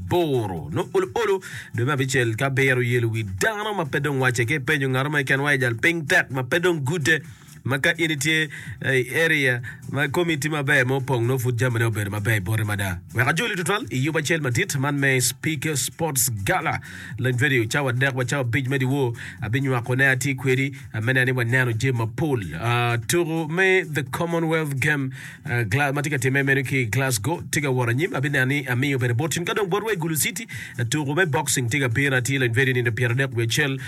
aboro. Nongo olo olo dwe me abicel ki abiro yelo wi dano ma pe dong wacce ki ipenyo ngat mo keken wa i jal piny tek ma pe dong gude ma ka in itye i area ma komi tye maber ma opong nongo pud jamine obedo maber boti mada. Wek ajoli tutwal i yub acel madit man me Speaker Sports Gala Lony Radio cawa adek wa cawa abic me dyewor abinywako ne atye kwedi me neno ni waneno jami mapol. Tuku me The Commonwealth Game ma tye ka timme meno ki i Glasgow tye ka wot anyim. Abineno ni amiyo bene bot tin ka dong botwa i Gulu City tuku me boxing tye ka bino atir lony vedi nino 30 wiye acel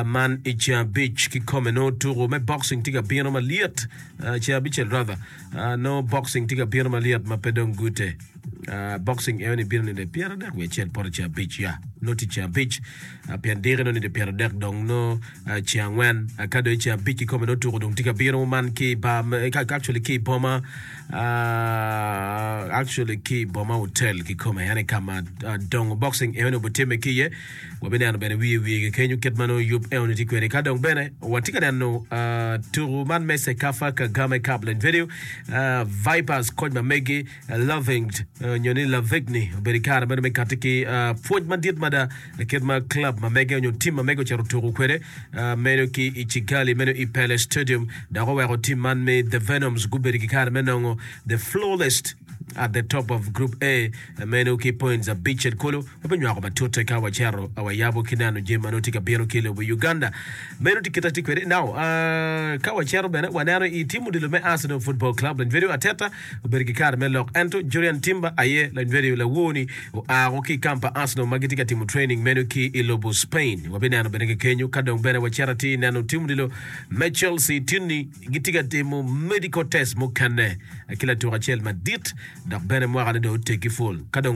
man i ceng abic kikome nongo tuku me boxing tye ka bino malyet ceng abicel rather nongo boxing tye ka bino malyet ma pe dong gute boxing eno ni bino nino 30 wiye acel poto ceng abic ya nongo tye ceng abic pien diki nongo nino 30 dong nongo Ceng angwen ka dong i ceng abic kikome nongo tuko dong tye ka bino man ki i bar actually ki i boma actually ki i boma hotel kikome en aye ka ma dongo boxing enoni obitimme ki iye. Wabineno bene wiye wiye kenyo kit ma nongo yub enoni tye kwede. Ka dong bene watye ka neno tuko man me Cecafa Kagame Cup Lane Video Vipers koc ma megi Loving nyo ni Lavigny obedo i kare meno me kati ki pwony madit mada kit ma club ma mege nyo tim ma mege ocito tuku kwede meno ki i Kigali meno i Pele Stadium dok oweko tim man me The Venoms gubedo ki kare me nongo the flawless at the top of Group A meno ki points abicel kulu. Wabinywako matute ka wacito wayabo ki neno jami ma nongo tye ka bino ki i lobo Uganda. Meno tye kit atye kwede. Now, ka wacito bene waneno i tim odilo me Arsenal Football Club Lanyverio Arteta obedo ki kare me lok ento Jurrien Timber aye Lanyverio lawor-ni oa woko ki i kamp pa Arsenal ma gitye ka timo training meno ki i lobo Spain. Wabineno bene ki kenyo ka dong bene wacito atir neno tim odilo me Chelsea tinni gitye ka timo medical test mukene ki latuk acel madit dok bene mwakane dong oteggi pul ka dong.